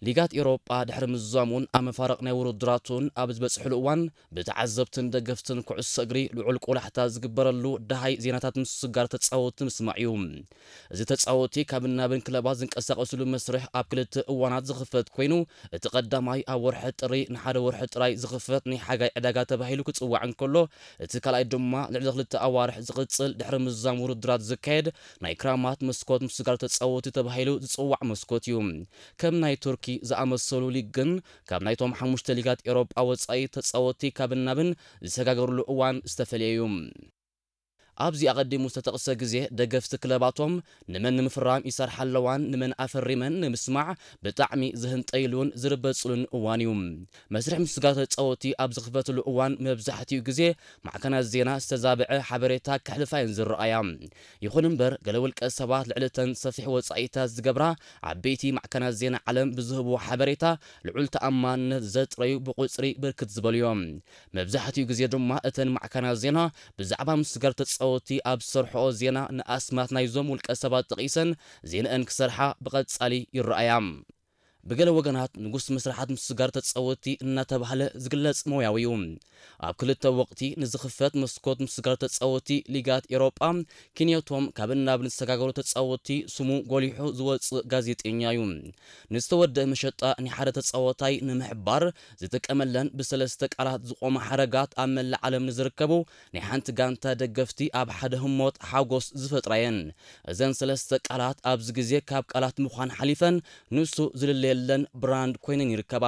ሊጋት ኤውሮጳ ድሕሪ ምዝዛሙን ኣብ መፋርቕ ናይ ውድድራቱን ኣብ ዝበጽሕሉ እዋን፣ ብተዓዘብትን ደገፍትን ኩዕሶ እግሪ ልዑል ቆላሕታ ዝግበረሉ ደሃይ ዜናታት ምስጋር ተጻወትቲ ምስማዕ እዩ። እዚ ተጻወትቲ ካብን ናብን ክለባት ዝንቀሳቐስሉ መስርሕ ኣብ ክልተ እዋናት ዝኽፈት ኮይኑ፣ እቲ ቀዳማይ ኣብ ወርሒ ጥሪ ንሓደ ወርሒ ጥራይ ዝኽፈት ናይ ሓጋይ ዕዳጋ ተባሂሉ ክጽዋዕ እንከሎ፣ እቲ ካልኣይ ድማ ልዕሊ ክልተ ኣዋርሕ ዝቕጽል ድሕሪ ምዝዛም ውድድራት ዝካየድ ናይ ክራማት መስኮት ምስጋር ተጻወትቲ ተባሂሉ ዝጽዋዕ መስኮት እዩ። ከም ናይ ቱርኪ ዝኣመሰሉ ሊግ ግን ካብ ናይቶም ሓሙሽተ ሊጋት ኤውሮጳ ወጻኢ ተጻወትቲ ካብን ናብን ዝሰጋገርሉ እዋን ዝተፈልየ እዩ። ኣብዚ ኣቐዲሙ ዝተጠቕሰ ግዜ ደገፍቲ ክለባቶም ንመን ንምፍራም ይሰርሓ ኣለዋን ንመን ኣፈሪመን ንምስማዕ ብጣዕሚ ዝህንጠይሉን ዝርበጽሉን እዋን እዩ። መስርሕ ምስጋር ተጻወትቲ ኣብ ዝኽፈትሉ እዋን መብዛሕትኡ ግዜ ማዕከናት ዜና ዝተዛብዐ ሓበሬታ ከሕልፋ እየን ዝረኣያ። ይኹን እምበር፣ ገለ ውልቀ ሰባት ልዕሊ እተን ሰፊሕ ወጻኢታት ዝገብራ ዓበይቲ ማዕከናት ዜና ዓለም ብዝህብዎ ሓበሬታ ልዑል ተኣማንነት ዘጥረዩ ብቁጽሪ ብርክት ዝበሉ እዮም። መብዛሕትኡ ግዜ ድማ እተን ማዕከናት ዜና ብዛዕባ ምስጋር ተጻወትቲ ኣብ ዝሰርሕኦ ዜና ንኣስማት ናይዞም ውልቀ ሰባት ጠቒሰን ዜንአን ክሰርሓ ብቐጻሊ ይረኣያ። ብገለ ወገናት ንጉስ መስርሓት ምስጋር ተጻወትቲ እናተባህለ ዝግለጽ ሞያዊ እዩ። ኣብ ክልተ ወቕቲ ንዝኽፈት መስኮት ምስጋር ተጻወትቲ ሊጋት ኤውሮጳ ክንዮቶም ካብን ናብን ዝተሰጋገሩ ተጻወትቲ ስሙ ጎሊሑ ዝወጽእ ጋዜጠኛ እዩ። ንዝተወደአ መሸጣ ናይ ሓደ ተጻወታይ ንምሕባር ዝጥቀመለን ብሰለስተ ቃላት ዝቖማ ሓረጋት ኣብ መላእ ዓለም ንዝርከቡ ናይ ሓንቲ ጋንታ ደገፍቲ ኣብ ሓደ ህሞት ሓጎስ ዝፈጥራ እየን። እዘን ሰለስተ ቃላት ኣብዚ ግዜ ካብ ቃላት ምዃን ሓሊፈን ንሱ ዝልለየለን ብራንድ ኮይነን ይርከባ።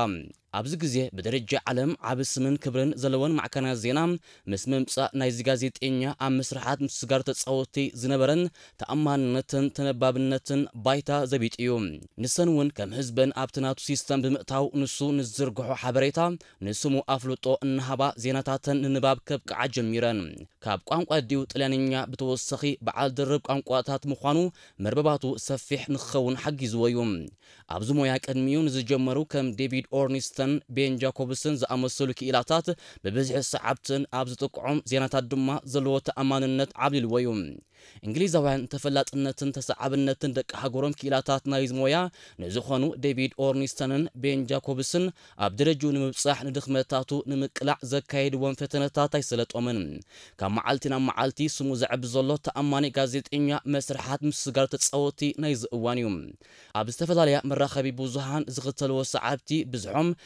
ኣብዚ ግዜ ብደረጃ ዓለም ዓቢ ስምን ክብርን ዘለወን ማዕከናት ዜና ምስ ምምጻእ ናይዚ ጋዜጠኛ ኣብ መስርሓት ምስጋር ተጻወትቲ ዝነበረን ተኣማንነትን ተነባብነትን ባይታ ዘቢጡ እዩ። ንሰን እውን ከም ህዝበን ኣብቲ ናቱ ሲስተም ብምእታው ንሱ ንዝዝርግሖ ሓበሬታ ንስሙ ኣፍልጦ እናሃባ ዜናታተን ንንባብ ከብቅዓ ጀሚረን። ካብ ቋንቋ ኣዲኡ ጥልያንኛ ብተወሳኺ በዓል ድርብ ቋንቋታት ምዃኑ መርበባቱ ሰፊሕ ንክኸውን ሓጊዝዎ እዩ። ኣብዚ ሞያ ቅድሚኡ ንዝጀመሩ ከም ዴቪድ ኦርኒስተን ቤን ጃኮብስን ዝኣመሰሉ ክኢላታት ብብዝሒ ሰዓብትን ኣብ ዝጥቅዖም ዜናታት ድማ ዘለዎ ተኣማንነት ዓብሊልዎ እዩ። እንግሊዛውያን ተፈላጥነትን ተሰዓብነትን ደቂ ሃገሮም ክኢላታት ናይዚ ሞያ ንዝኾኑ ዴቪድ ኦርኒስተንን ቤን ጃኮብስን ኣብ ደረጅኡ ንምብጻሕ ንድኽመታቱ ንምቅላዕ ዘካየድዎም ፈተነታት ኣይሰለጦምን። ካብ መዓልቲ ናብ መዓልቲ ስሙ ዘዕቢ ዘሎ ተኣማኒ ጋዜጠኛ መስርሓት ምስጋር ተጻወቲ ናይዚ እዋን እዩ። ኣብ ዝተፈላለያ መራኸቢ ብዙሃን ዝኽተልዎ ሰዓብቲ ብዝሖም